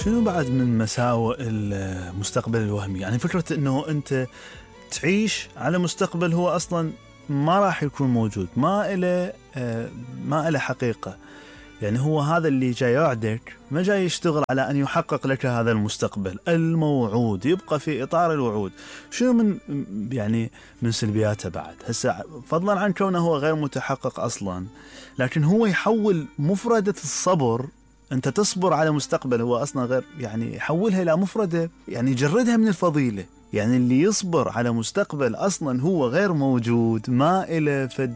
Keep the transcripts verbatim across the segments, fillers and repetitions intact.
شنو بعد من مساوئ المستقبل الوهمي؟ يعني فكرة انه انت تعيش على مستقبل هو اصلا ما راح يكون موجود، ما إله ما إله حقيقة. يعني هو هذا اللي جاي يعدك ما جاي يشتغل على أن يحقق لك هذا المستقبل الموعود، يبقى في إطار الوعود. شنو من يعني من سلبياته بعد هسه، فضلا عن كونه هو غير متحقق أصلا، لكن هو يحول مفردة الصبر، أنت تصبر على مستقبل هو أصلا غير، يعني يحولها إلى مفردة، يعني يجردها من الفضيلة. يعني اللي يصبر على مستقبل أصلا هو غير موجود، ما إله فد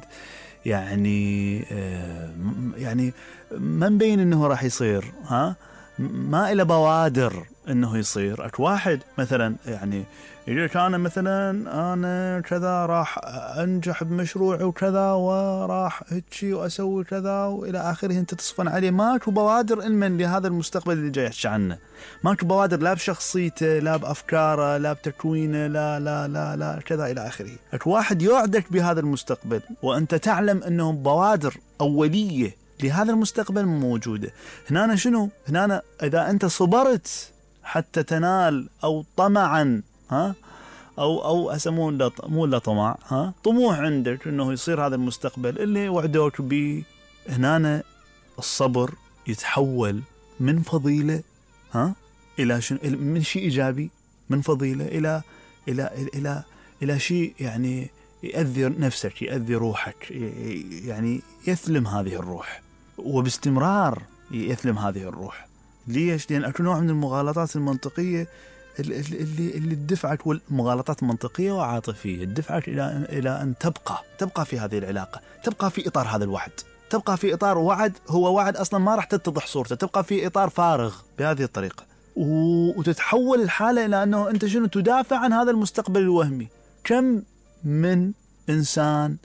يعني آه يعني ما مبين انه راح يصير، ها ما إله بوادر انه يصير. اك واحد مثلا يعني يقول لك انا مثلا انا كذا راح انجح بمشروعي وكذا وراح هيك واسوي كذا والى اخره، انت تصفن عليه، ماكو بوادر علما لهذا المستقبل اللي جاي يحكي عنه، ماكو بوادر لا بشخصيته لا بافكاره لا بتكوينه لا لا لا لا كذا الى اخره. اك واحد يوعدك بهذا المستقبل وانت تعلم انه بوادر اوليه لهذا المستقبل موجوده. هنا شنو؟ هنا اذا انت صبرت حتى تنال او طمعا، ها او او اسمون مو لا طمع، ها طموح عندك انه يصير هذا المستقبل اللي وعدوك به، هنا الصبر يتحول من فضيله، ها الى شنو؟ من شيء ايجابي، من فضيله الى الى الى الى, إلى شيء يعني يؤذي نفسك، يؤذي روحك، يعني يثلم هذه الروح، وباستمرار يثلم هذه الروح. ليش؟ لأن أكو نوع من المغالطات المنطقية اللي اللي اللي تدفعك، والمغالطات منطقية وعاطفية تدفعك إلى إلى أن تبقى تبقى في هذه العلاقة، تبقى في إطار هذا الوعد، تبقى في إطار وعد هو وعد أصلا ما راح تتضح صورته، تبقى في إطار فارغ بهذه الطريقة، وتتحول الحالة إلى أنه أنت شنو؟ تدافع عن هذا المستقبل الوهمي. كم من إنسان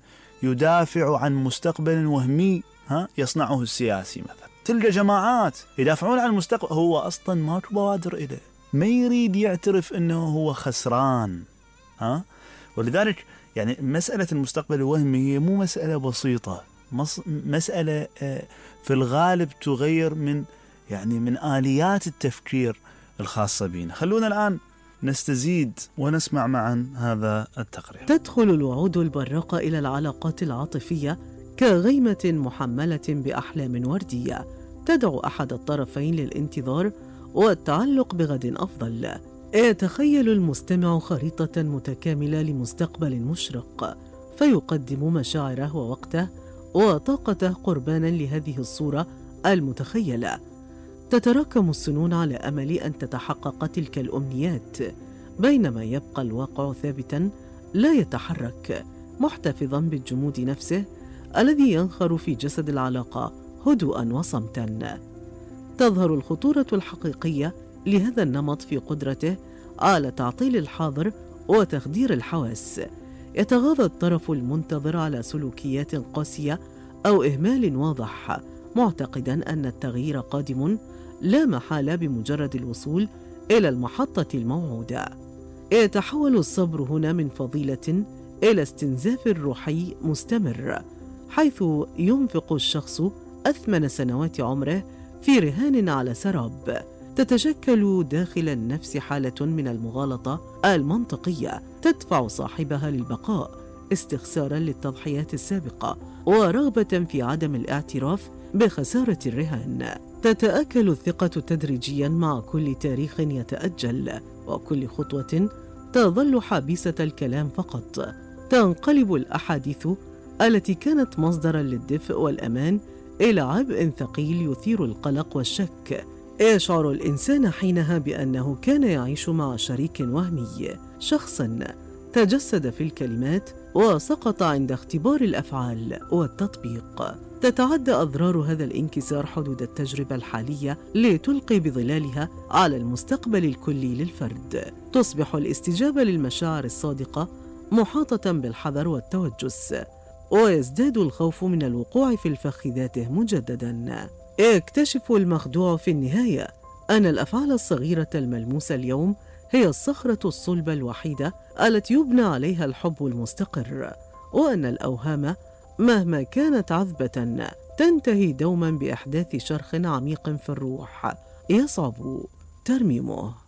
يدافع عن مستقبل وهمي، ها يصنعه السياسي مثلا، تلقى جماعات يدافعون عن المستقبل هو أصلا ماكو بوادر إليه، ما يريد يعترف أنه هو خسران، ها. ولذلك يعني مسألة المستقبل الوهمي هي مو مسألة بسيطة، مسألة في الغالب تغير من يعني من آليات التفكير الخاصة بنا. خلونا الآن نستزيد ونسمع معا هذا التقرير. تدخل الوعود البراقة إلى العلاقات العاطفية كغيمة محملة بأحلام وردية تدعو أحد الطرفين للانتظار والتعلق بغد أفضل. يتخيل المستمع خريطة متكاملة لمستقبل مشرق، فيقدم مشاعره ووقته وطاقته قربانا لهذه الصورة المتخيلة. تتراكم السنون على أمل أن تتحقق تلك الأمنيات، بينما يبقى الواقع ثابتا لا يتحرك، محتفظا بالجمود نفسه الذي ينخر في جسد العلاقة هدوءا وصمتا. تظهر الخطورة الحقيقية لهذا النمط في قدرته على تعطيل الحاضر وتخدير الحواس. يتغاضى الطرف المنتظر على سلوكيات قاسية أو إهمال واضح، معتقدا أن التغيير قادم لا محالة بمجرد الوصول إلى المحطة الموعودة. يتحول الصبر هنا من فضيلة إلى استنزاف روحي مستمر، حيث ينفق الشخص أثمن سنوات عمره في رهان على سراب. تتشكل داخل النفس حالة من المغالطة المنطقية تدفع صاحبها للبقاء، استخسارا للتضحيات السابقة ورغبة في عدم الاعتراف بخسارة الرهان. تتآكل الثقة تدريجيا مع كل تاريخ يتأجل، وكل خطوة تظل حابسة الكلام فقط. تنقلب الأحاديث التي كانت مصدرا للدفء والأمان إلى عبء ثقيل يثير القلق والشك. يشعر الإنسان حينها بأنه كان يعيش مع شريك وهمي، شخصا تجسد في الكلمات وسقط عند اختبار الأفعال والتطبيق. تتعدى أضرار هذا الانكسار حدود التجربة الحالية لتلقي بظلالها على المستقبل الكلي للفرد. تصبح الاستجابة للمشاعر الصادقة محاطة بالحذر والتوجس، ويزداد الخوف من الوقوع في الفخ ذاته مجددا. يكتشف المخدوع في النهاية أن الأفعال الصغيرة الملموسة اليوم هي الصخرة الصلبة الوحيدة التي يبنى عليها الحب المستقر، وأن الأوهام مهما كانت عذبة تنتهي دوما بإحداث شرخ عميق في الروح يصعب ترميمه.